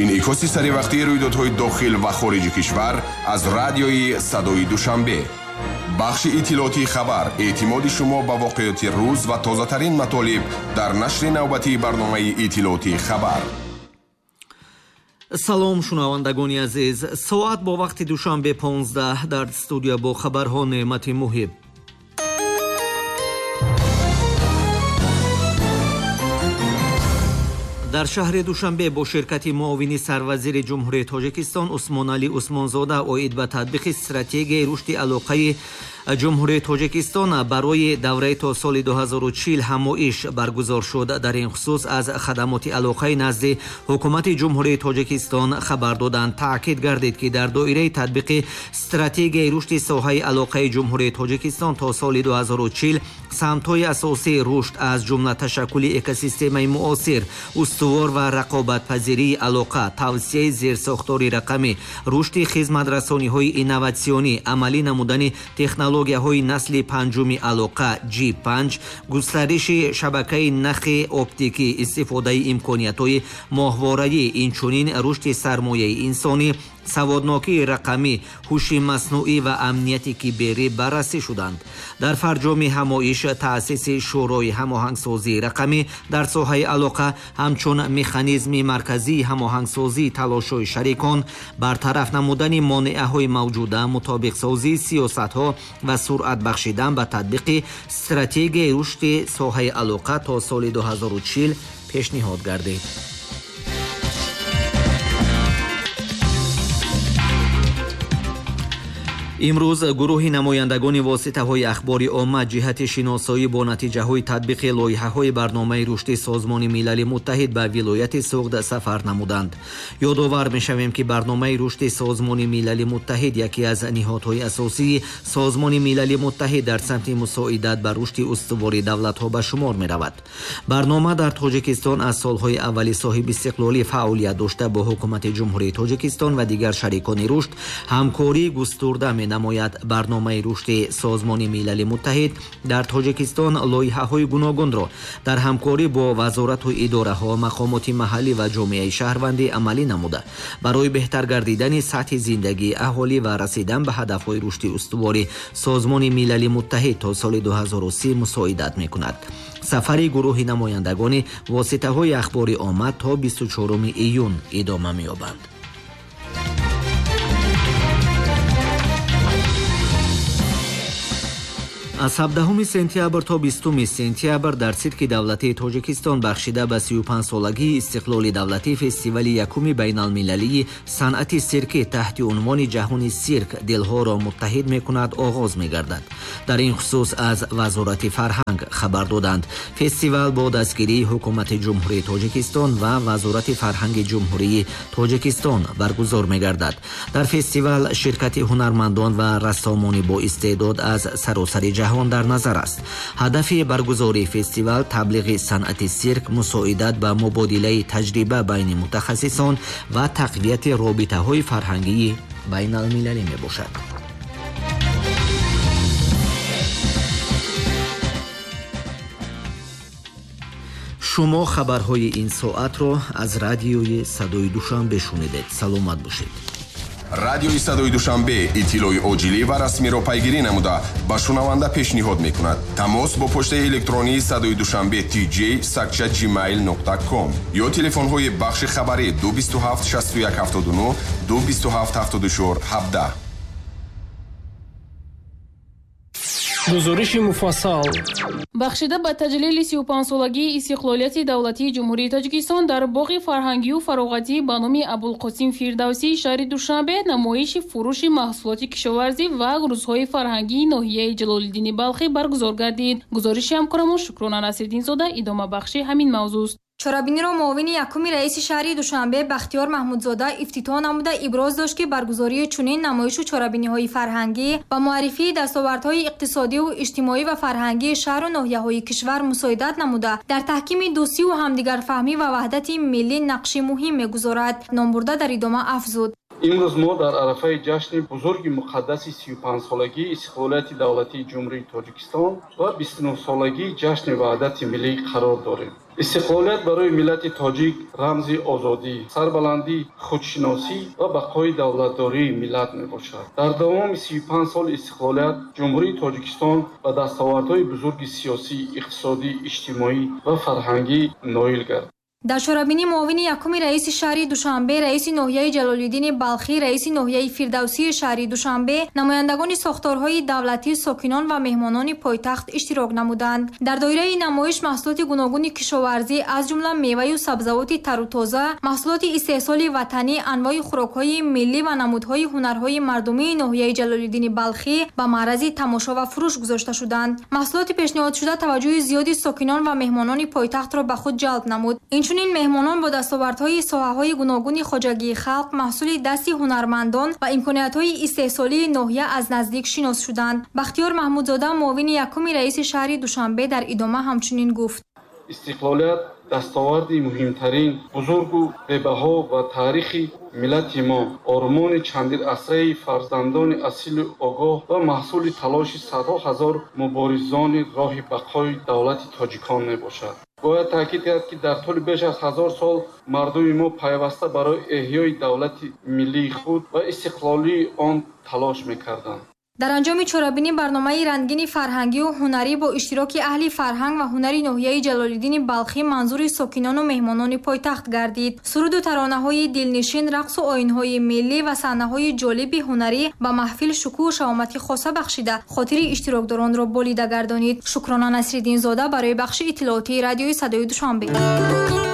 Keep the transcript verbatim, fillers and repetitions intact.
Инъикоси саривақтии рӯйдодҳои дохил ва хориҷи кишвар аз радиои Садои Душанбе. Бахши иттилоотии хабар, эътимоди шумо ба воқеоти рӯз ва тозатарин матолиб дар нашри навбатии барномаи иттилоотии хабар. Салом, шунавандагони азиз. Соат бо вақти Душанбе понздаҳ, дар студия бо хабарҳо Неъмати Муҳиб. Дар шаҳри Душанбе бо ширкати муовини сарвазири Ҷумҳурии Тоҷикистон Усмоналӣ Усмонзода оид ба татбиқи стратегияи рушди алоқаи Ҷумҳурии Тоҷикистон барои давраи то соли ду ҳазору чил ҳамоиш баргузор шуд. Дар ин хусус аз хадамоти алоқаи назди ҳукумати Ҷумҳурии Тоҷикистон хабар доданд. Таъкид гардид, ки дар доираи татбиқи стратегияи рушди соҳаи алоқаи Ҷумҳурии Тоҷикистон то соли ду ҳазору чил самтҳои асосии рушд аз ҷумла ташаккули экосистемаи муосир, устувор ва рақобатпазирии алоқа, тавсияи зерсохтори рақамӣ, рушди хизматрасониҳои инноватсионӣ, амалӣ намудани технологияҳои насли панҷуми алоқа G панҷ, густариши шабакаи нахи оптикӣ, истифодаи имкониятҳои моҳвораӣ, инчунин рушди сармояи инсонӣ, саводнокии рақамӣ, ҳуши маснуӣ ва амнияти киберӣ баррасӣ шуданд. Дар фарҷоми ҳамоиш таъсиси Шӯрои ҳамоҳангсозии рақамӣ дар соҳаи алоқа ҳамчун механизми марказии ҳамоҳангсозии талошҳои шарикон, бартараф намудани монеаҳои мавҷуда, мутобиқсозии сиёсатҳо ва суръат бахшидан ба татбиқи стратегияи рушди соҳаи алоқа то соли ду ҳазору чил пешниҳод гардид. Имрӯз гурӯҳи намояндагони воситаҳои ахбори омма ҷиҳати шиносоӣ бо натиҷаҳои татбиқи лоиҳаҳои барномаи рушди Созмони Милали Муттаҳид ба вилояти Суғд сафар намуданд. Ёдовар мешавем, ки барномаи рушди Созмони Милали Муттаҳид яке аз ниҳодҳои асосии Созмони Милали Муттаҳид дар самти мусоидат ба рушди устувори давлатҳо ба шумор меравад. Барнома дар Тоҷикистон аз солҳои аввали соҳибистиқлолӣ фаъолият дошта, бо ҳукумати Ҷумҳурии Тоҷикистон ва дигар шарикони рушд ҳамкорӣ густурда менамояд. Барномаи рушди Созмони Милали Муттаҳид дар Тоҷикистон лоиҳаҳои гуногунро дар ҳамкорӣ бо вазорату идораҳо, мақомоти маҳаллӣ ва ҷомеаи шаҳрвандӣ амалӣ намуда, барои беҳтар гардидани сатҳи зиндагии аҳолӣ ва расидан ба ҳадафҳои рушди устувори Созмони Милали Муттаҳид то соли ду ҳазору си мусоидат мекунад. Сафари гурӯҳи намояндагони воситаҳои ахбори омма то бисту чоруми июн идома меёбанд. Аз ҳабдаҳуми сентябр то бистуми сентябр дар Сирки давлатии Тоҷикистон бахшида ба сию панҷсолагии истиқлоли давлатӣ фестивали якуми байналмилалии санъати сиркӣ таҳти унвони Ҷаҳони сирк дилҳоро муттаҳид мекунад оғоз мегардад. Дар ин хусус аз Вазорати фарҳанг хабар доданд. Фестивал бо дастгирии ҳукумати Ҷумҳурии Тоҷикистон ва Вазорати фарҳанги Ҷумҳурии Тоҷикистон баргузор мегардад. Дар фестивал ширкати ҳунармандон ва рассомони боистеъдод аз саросари ҷаҳон дар назар аст. Ҳадафи баргузории фестивал таблиғи санъати сирк, мусоидат ба мубодилаи таҷриба байни мутахассисон ва тақвияти робитаҳои фарҳангии байналмилалӣ мебошад. Шумо хабарҳои ин соатро аз радиои Садои Душанбе шунидед. Саломат бошед. Радиои Садои Душанбе иттилои оҷилӣ ва расмиро пайгирӣ намуда ба шунаванда пешниҳод мекунад. Тамос бо почтаи электронии Садои Душанбе tj сакча gmail нуқта com ё телефонҳои бахши хабарӣ ду бисту ҳафт шасту як ҳафтоду нӯҳ, ду бисту ҳафт ҳафтоду чор ҳабдаҳ. Гузориши муфассал. Бахшида ба таҷлили сию панҷсолагии истиқлолияти давлатии Ҷумҳурии Тоҷикистон дар боғи фарҳангию фароғатӣ ба номи Абулқосим Фирдавсии шаҳри Душанбе намоиши фурӯши маҳсулоти кишоварзӣ ва рӯзҳои фарҳангии ноҳияи Ҷалолиддини Балхӣ баргузор гардид. Гузориши ҳамкорамон Шукрона Насриддинзода идомабахши ҳамин мавзӯст. Чорабиниро муовини якуми раиси шаҳри Душанбе Бахтиёр Маҳмудзода ифтитоҳ намуда иброз дошт, ки баргузории чунин намоишу чорабиниҳои фарҳангӣ ва муаррифии дастовардҳои иқтисодиву иҷтимоӣ ва фарҳангии шаҳру ноҳияҳои кишвар мусоидат намуда дар таҳкими дӯстиву ҳамдигарфаҳмӣ ва ваҳдати миллӣ нақши муҳим мегузорад. Номбурда дар идома афзуд: Имрӯз мо дар арафаи ҷашни бузурги муқаддаси сию панҷсолагии истиқлолияти давлатии Ҷумҳурии Тоҷикистон ва бисту нӯҳсолагии ҷашни Ваҳдати миллӣ қарор дорем. Истиқлолият барои миллати тоҷик рамзи озодӣ, сарбаландӣ, худшиносӣ ва бақои давлатдории миллат мебошад. Дар давоми сию панҷ соли истиқлолият Ҷумҳурии Тоҷикистон ба дастовардҳои бузурги сиёсӣ, иқтисодӣ, иҷтимоӣ ва фарҳангӣ ноил гардид. Дар чорабинӣ муовини якуми раиси шаҳри Душанбе, раиси ноҳияи Ҷалолиддини Балхӣ, раиси ноҳияи Фирдавсии шаҳри Душанбе, намояндагони сохторҳои давлатӣ, сокинон ва меҳмонони пойтахт иштирок намуданд. Дар доираи намоиш маҳсулоти гуногуни кишоварзӣ, аз ҷумла меваю сабзавоти тару тоза, маҳсулоти истеҳсоли ватанӣ, анвои хӯрокҳои миллӣ ва намудҳои ҳунарҳои мардумии ноҳияи Ҷалолиддини Балхӣ ба маърази тамошо ва фурӯш гузошта шуданд. Маҳсулоти пешниҳодшуда таваҷҷӯҳи зиёди сокинон ва меҳмонони пойтахтро ба худ ҷалб намуд. Инчунин меҳмонон бо дастовардҳои соҳаҳои гуногуни хоҷагии халқ, маҳсули дасти ҳунармандон ва имкониятҳои истеҳсолии ноҳия аз наздик шинос шуданд. Бахтиёр Маҳмудзода, муовини якуми раиси шаҳри Душанбе, дар идома ҳамчунин гуфт: истиқлолият дастоварди муҳимтарин, бузургу бебаҳо ва таърихи миллати мо, ормони чандирасраи фарзандони асилу огоҳ ва маҳсули талоши садҳо ҳазор муборизони роҳи бақои давлати тоҷикон мебошад. Бояд таъкид кард, ки дар тӯли беш аз ҳазор сол мардуми мо пайваста барои эҳёи давлати миллии худ ва истиқлолии он талош мекарданд. Дар анҷоми чорабинӣ барномаи рангини фарҳангию ҳунарӣ бо иштироки аҳли фарҳанг ва ҳунари ноҳияи Ҷалолиддини Балхӣ манзури сокинону меҳмонони пойтахт гардид. Суруду таронаҳои дилнишин, рақсу оинҳои миллӣ ва саҳнаҳои ҷолиби ҳунарӣ ба маҳфил шукӯҳу шаҳомати хоса бахшида, хотири иштирокдоронро болида гардонид. Шукрона Насриддинзода барои бахши иттилоотии радиои Садои Душанбе.